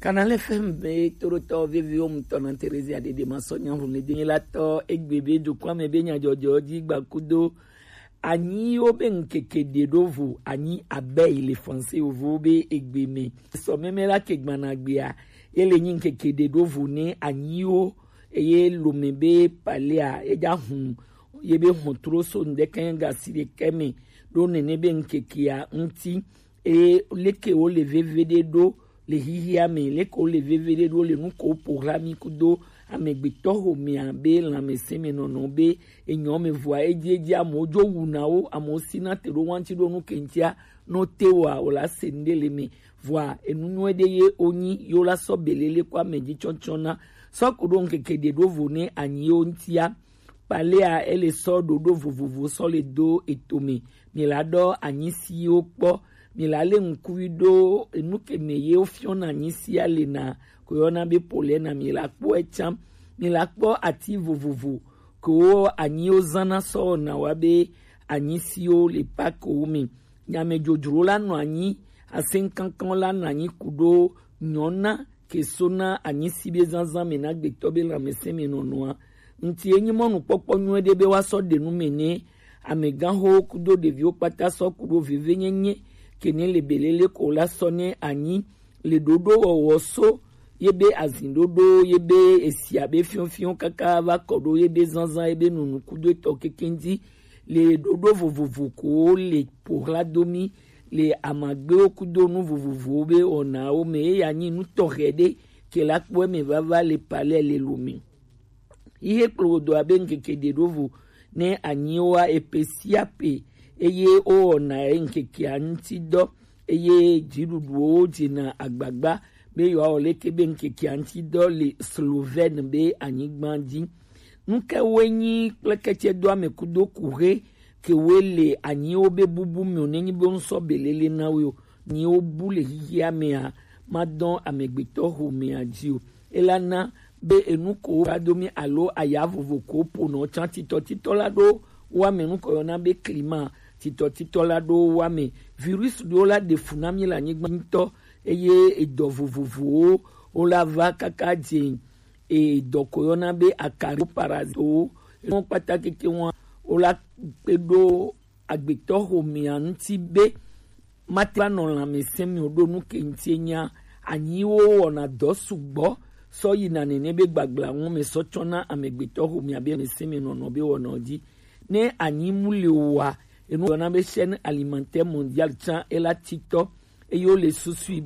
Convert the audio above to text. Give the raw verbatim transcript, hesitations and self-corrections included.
Kanal F M be toɖotɔ veviwo ŋutɔ na Terezia Dede Masɔ Nyahun le denyelatɔ egbe be dukɔa me be nyadzɔdzɔ dzi gbakudo anyiwo be ŋkeke ɖe ɖo vo anyi abe yi le français yovo be egbe me. Sɔ meme la ke gbana gbea, ye le nyi ŋkeke ɖe ɖo vo ne anyiwo, eye lome be palea, ye dza hun, ye be hɔn tro so ŋdeke gasi ɖeke me ɖo nene be ŋkekea ŋuti. Eye leke wo le veve ɖe ɖo le hihia me, leke wo le veve ɖe ɖo le nu ko ƒo hla mi kudo amegbetɔ xomea be lãmesẽ me nɔnɔ be enyɔ me vɔa edzi edzi amewo dzo wuna wo, amewo sina te ɖo wanti ɖo nu ke ŋutia, no te wa o la se ŋɖe le me. Vɔa enu nyuie ɖe ye o nyi yo la sɔ belele ko ame dzi tsɔtsɔ na sɔ ko ɖo ŋkeke ɖe ɖo vo ne anyi yo ŋutia. Palea ele sɔ ɖoɖo vovovo sɔ le do etome. Mi la ɖɔ anyisiwo kpɔ. Mi la le ŋkui ɖo enu ke me ye wofiɔna anyisia le na ko yɔna be polena. Mi la kpɔ etsam. Mi la kpɔ ati vovovo ko anyiwo zana sɔ na wa be anyisiwo le pakowo me. Nyamedzodzro la nɔ anyi, asẽkankan la nɔ anyi ku ɖo nyɔna ke so na anyisi be zazã me na gbetɔ be lãmesẽ me nɔnɔa. Ŋti enyi mɔnukpɔkpɔ nyuie ɖe be woasɔ ɖe nu me ne amegãxowo kudo ɖeviwo kpata sɔ ku ɖo vevenyenye ke ne le belele ko la sɔ ne anyi le ɖoɖo wɔwɔ so ye be azin ɖoɖo ye be esia be fiɔfiɔ kaka va kɔ ɖo ye be zazã ye be nunu kudo etɔ kekeŋ dzi le ɖoɖo vovovo ko le ƒo hla do mi le amagbewo kudo nu vovovowo be wɔnawo me. Eya nyi nu tɔxɛ ɖe ke la kpɔ eme vava le palais le lome. Ihe kplodo abe ŋkeke ɖe ɖo vo ne anyiwoa epe sia pe, eye wowɔna ŋkekea ŋuti dɔ, eye dziɖuɖuwo dzena agbagba be yewoawɔ leke be ŋkekea ŋuti dɔ le Slovène be anyigba dzi. Nu ke woe nyi kple ketsɛ do ame kudo kuxe ke woe le anyiwo be bubu me o, nenyi be ŋusɔ belele na wo o, nyiwo bu le xixia mea, madɔn amegbetɔ xomea dzi o. Elana be enu ko va do mi alo aya vovo ko ponɔ tsã titɔtitɔ la ɖo wa me nu ko yɔna be klima titɔtitɔ la ɖo wa me. Virus ɖewo la ɖe fu na mi le anyigba ŋutɔ, eye edɔ vovovowo wo la va kaka dze edɔ ko yɔna be akari parazitowo. Enu kpata keke wa wo la kpe ɖo agbetɔ xomea ŋuti be mate va nɔ lãmesẽ me o ɖo nu ke ŋuti enya anyiwo wɔna dɔ sugbɔ sɔ yina nene be gbagbla ŋu me sɔ tsɔna amegbetɔ xomea be lãmesẽ me nɔnɔ be wɔna dzi. Ne anyi mu le oa, enu yɔna be chaîne alimentaire mondiale tsã ela titɔ, eye wo le susui be